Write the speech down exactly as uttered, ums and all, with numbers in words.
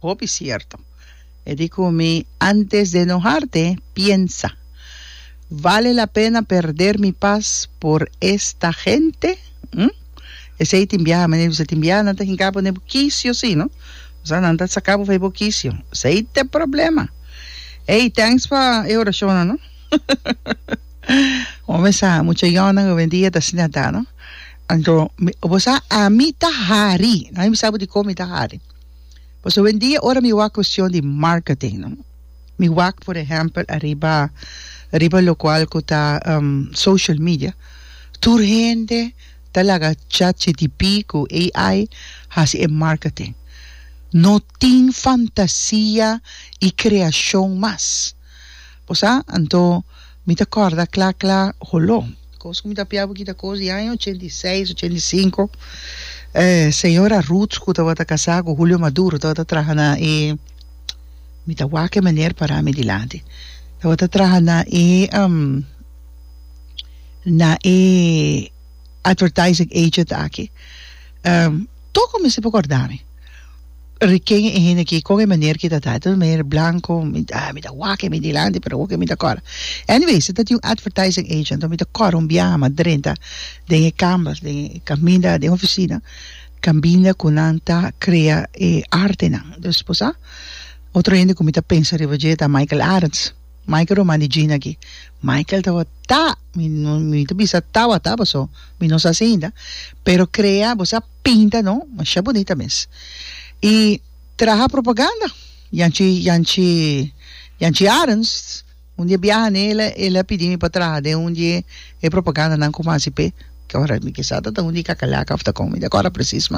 Hopi cierto. E di cu mi, "Antes de enojarte, piensa. Vale la pena perder mi paz por esta gente?" Hm? Esey tin biaha, manera bisa tin biaha nan ta hinca bo den bo kisio si, no? Osea nan ta saca bo for bo kisio. Esey ta e problema. Ey, thanks pa e oracionnan, no? Bo sa, mucha yònnan howendia ta asina ta, no? Anto, bo sa, ami ta hari. Nan mi sa bo dikon mi ta hari. Pasobra howendia ora mi wak cuestion di marketing, no? Mi wak, por ehempel, ariba riba locual cu ta social media, tur hende ta laga Chat G T P cu A I haci e marketing. No tin fantasia y creacion mas. Bo sa, anto mi ta corda cla cla holo. Cos cu mi ta pia bo kita cos di aña ochenta i seis, ochenta i sinku. Eh, señora Ruth cu tabata casa cu Julio Maduro tabata traha na e, mi ta wak e meneer para mi dilanti. Tabata traha na e um, na e advertising agent aki. Um, toko mi se por corda mi. Ken e hende aki, con e meneer ki ta ta. Ta un meneer blanco, mi, ah, mi ta wak mi dilanti, pero mi ta corda. Anyway, se ta tin un advertising agent, mi ta corda un biaha m'a drenta den e kamber, den e caminda, den oficina, caminda cu nan ta crea e artenan. Dus, bo sa, otro hende cu mi ta pensa riba dje ta Michael Arends. Michael ruman di Gina aki. Michael tabata, mi no, mi ta bisa tabata, paso mi no sa si ainda, pero crea, bo sa, pinta, no? Masha bunita mes. Y traha propaganda. Yanchi, Yanchi, Yanchi Arends, un dia biaha nele, el a pidi mi pa traha den un dia e propaganda nan cu m'a hasi p'e, cu ora mi kisa ta un di kakalaka of ta con, mi ta acorda precies.